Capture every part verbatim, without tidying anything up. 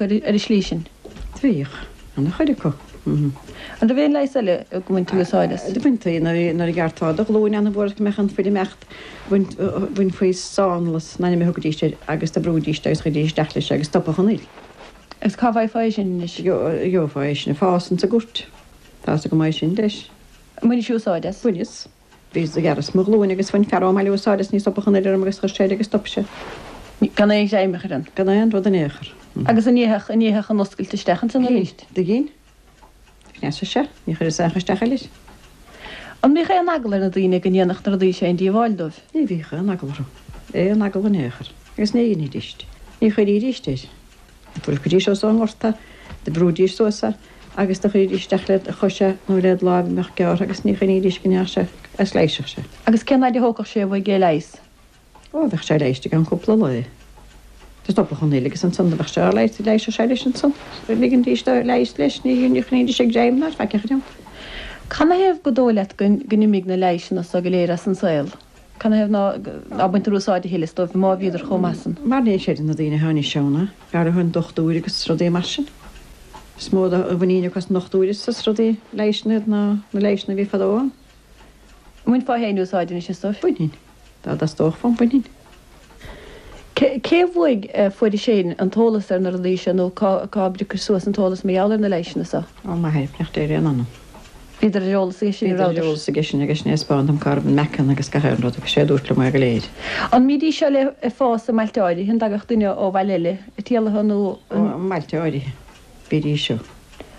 ar an slí sin? Bhíodh, ana-chuid acu. An raibh aon leigheas eile go mbaintí úsáid as? Do bhaintí nuair a ghearrtá do ghlúin an-mhór go mbeadh an fuil ag imeacht, bhainfí sánlas in ainm a thugaidís air agus do bhrúidís agus chuiridís isteach leis agus stopfadh an fhuil. Agus cá bhfaighfeá é sin anois? Gheofá é sin ag fás insa gcúirt. Tá's agam é sin leis. An mbainis úsáid as? Bhaineas. Bhíos, do ghearras mo ghlúin agus bhain fear ón mbaile úsáid as, ní stopfadh an fhuil orm agus chuir sé air agus stop sé. Gan aon ghreim a chur ann? Gan aon rud in aon chor. Agus an ndéanfadh, an ndéanfadh an oscailt isteach ansan arís? Do dhein. Do chneasaigh sé. Ní chuireas aon chor isteach eile air. An mbíodh aon eagla ar na daoine go ndéanfadh na rudaí seo aon díobháil dóibh? Ní bhíodh aon eagla orthu. Aon eagla in aon chor. Agus ní dheinidíst. Ní chuiridíst air. Do phiocfaidís os ón ngort é, do bhrúidís suas é agus do chuiridís isteach led chois é nó led láimh a mbeadh gearrtha agus ní choinnídís go ndeachaidh sé agus leighisfeadh sé. Agus cén fhaid a thógfadh sé uaidh é a leigheas? Ó, bheadh sé leighiste i gceann cúpla lae. Do stopfadh an fhuil agus ansan do bheadh sé á leigheas, leighisfeadh sé leis ansan. Ligindís dó leigheas leis, ní choinnídís ag greim ná ar faic a chur ann. Canathaobh gur dóigh leat go n-imigh na leighiseanna so go léir as an saol? Canathaobh ná ná baintear úsáid a thuilleadh as dóibh má bhíodar chomh maith san? Mar ní chreideann na daoine atá anois ann, go háirithe an dochtúir agus rudaí mar sin. Is mó de mhuinín acu as an ndochtúir is as rudaí leighiseanna iad ná na leighiseanna a bhí fadó ann. An mbainfeá féin úsáid anois as dóibh? Bhainfinn. Dá dteastódh uaim, bhainfinn. Cé uaidh a fuairis féin an t-eolas ar na rudaí seo nó cá cá bpriocais suas an t-eolas mar gheall ar na leighseanna seo? Ó m'athair, beannacht Dé ar a anam. Bhíodar ar eolas aige sin, Bhíodar ar eolas aige sin agus sin é a 'spáin dom cá raibh an meacan agus gach aon rud agus sé a dúirt liom é go léir. An mbídís seo le ag fás i mbailte áirithe, an dtagadh duine ó bhaile eile ag triall orthu nó an. Ó, i mbailte áirithe, bhídís seo.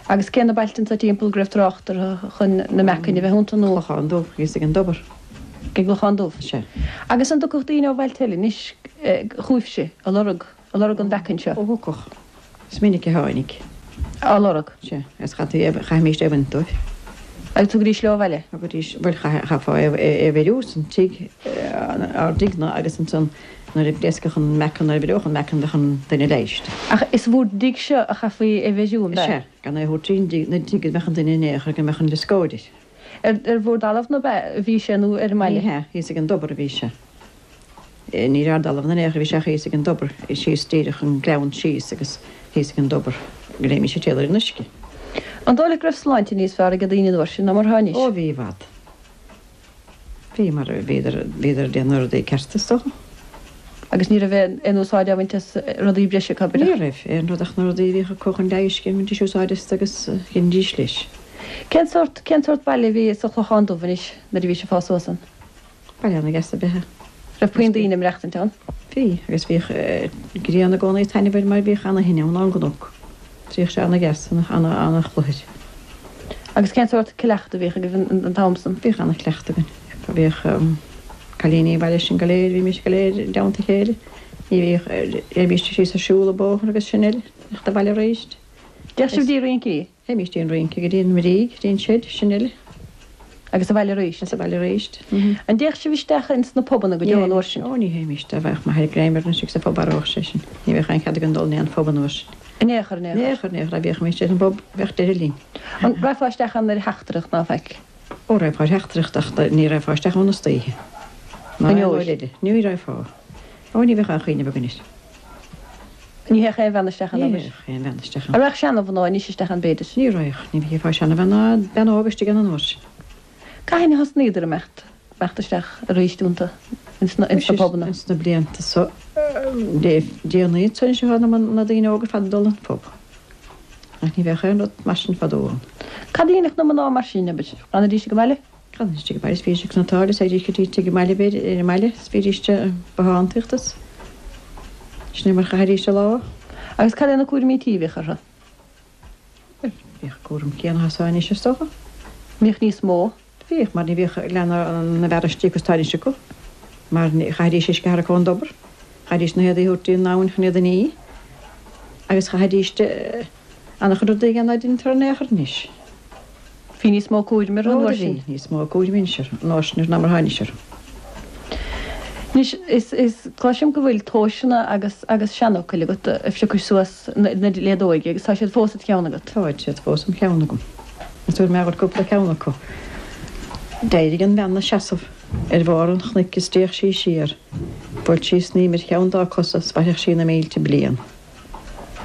Agus cé na bailte anso timpeall go raibh trácht orthu chun na meacain a bheith iontu nó. Clochán Dubh, thíos ag an dtobar. Ag an gClochán Dubh. Sea. Agus an dtiocfadh daoine ó bhailte eile anois chugaibhse a lorg, a lorg an mheacain seo? Ó thiocfadh. Is minic a tháinig. Á lorg. Sea. Agus chaithfí é, chaithimíst é a bhaint dóibh. Agus thugaidís leo abhaile? Thugaidís, bhuel, chaithfeá é a bheiriú san tigh, ár dtigh-na agus ansan nuair a phléascfadh an meacan, nuair a bheireodh an meacan bheadh an duine leighiste. Ach is bhúr dtigh-se a chaithfí é bheiriú, an b'ea? Sea, gan é a thabhairt trín na dtigh go mbeadh an duine in aon chor, go mbeadh an glioscóid air. Ar bhur dtalamh nó b'ea a bhí sé nó ar an mbaile? Ní hea, thíos ag an dtobar a bhí sé. Ní ar ár dtalamh in aon chor a bhí sé ach thíos ag an dtobar, síos díreach an gleann síos agus thíos ag an dtobar go léimís ag triall ar an uisce. An dóigh leat go raibh sláinte níos fearr ag daoine an uair sin ná mar atá anois? Ó bhí i bhfad. Bhí, mar bhíodar, bhíodar ag déanamh na rudaí cearta is dócha. Agus ní raibh aon, aon úsáid á bhaint as rudaí breise acu, Ní raibh, aon rud ach na rudaí a bhíodh acu chun leighis, bhaintís úsáid astu agus dheinidís leis. Cén sórt, cén sórt baile a bhí sa Chlochán Dubh anois nuair a bhís ag fás suas ann? Baile ana-dheas ab ea é. Raibh puinn daoine ag maireachtaint ann? Bhí, agus bhíodh grian i gcónaí ag taitneamh air mar bhíodh ana-thine ann ón gcnoc. Bhíodh sé ana-dheas, ana-chluthar. Agus cén sórt cleachtadh a bhíodh agaibh an t-am san? Bhíodh ana-chleachtadh againn. Bhíodh cailíní an bhaile sin go léir, bhímis go léir i dteannta a chéile. Ní bhíodh, théimíst síos ag siúl an bóthar agus sin uile, theacht abhaile arís. Dtéadh sibh dtí rincí? Théimíst dtí an rince, go dtí an Bhrígh, go dtí an seid, sin uile. Agus abhaile arís? Agus abhaile arís. An dtéadh sibh isteach ins na pubanna go deo an uair sin? Ó, ní théimíst. Dá bhfaigheadh m'athair greim orainn istigh sa phub mharódh sé sinn. Ní bheadh aon chead againn dul in aon phub an uair sin. In aon chor, in aon chor. In aon chor, in aon chor. Dá bhféachfaimíst ar an bpub, bheadh deireadh linn. An raghfá isteach ann ar theachtaireacht ná faic? Ó, raghfá ar theachtaireacht ach ní raghfá isteach ann istoíche. Ná aon uair eile. Ní raghfá. Ó, ní bheadh aon chuimhneamh againn air. Ní théadh aon bhean isteach ann, Ní abair. théadh aon bhean isteach ann. An raghadh seana-mhná anois isteach ann, b'fhéidir? Ní raghadh. Ní bhfeicfeá seana-bhean ná bean óg istigh ann an uair sin. Cathain a thosnaíodar imeacht, imeacht isteach arís iontu, ins na, ins na pubanna? Ins na blianta so le déanaí anso anois atá na daoine óga ar fad ag dul an phub. Ach ní bheadh aon rud mar sin fadó ann. Cad a dhéanfadh na mná mar sin, abair? D'fhanaidís ag an mbaile? D'fhanaidís ag an mbaile is bhídís ag cniotáil is théidís go dtí tigh an mbaile b'fhéidir, ar an mbaile is bhídís ag bothántaíocht is sin é mar chaithidís a lá. Agus cad é na cúraimí tí a bhíodh orthu? Bhuel, bhíodh an cúram céanna is atá anois is dócha. Bhíodh níos mó? Bhíodh, mar ní bhíodh leath na bhfear istigh is atá anois acu, mar chaithidís uisce a tharrac ón dtobar, chaithidís na héadaí a thabhairt dtí an abhainn chun iad a ní agus chaithidís an-chuid rudaí a dhéanamh ná deintear in aon chor anois. Bhí níos mó cúraim orthu an Ó, uair do bhí sin. níos mó cúraim anois orthu an uair sin ná mar atá anois orthu. Anois, is, is, cloisim go bhfuil tomhaiseanna agus, agus seanfhocail agat a phiocais suas na, le d'óige agus tá siad fós id cheann agat. Táid siad fós im cheann agam. Is tabharfaidh mé dhuit cúpla ceann acu. D'éirigh an bhean 'na seasamh ar bharr an chnoic is d'fhéach sí siar. Bhuail sí snaidhm ar cheann dá cosa 's mhairfeadh sí na mílte bliain.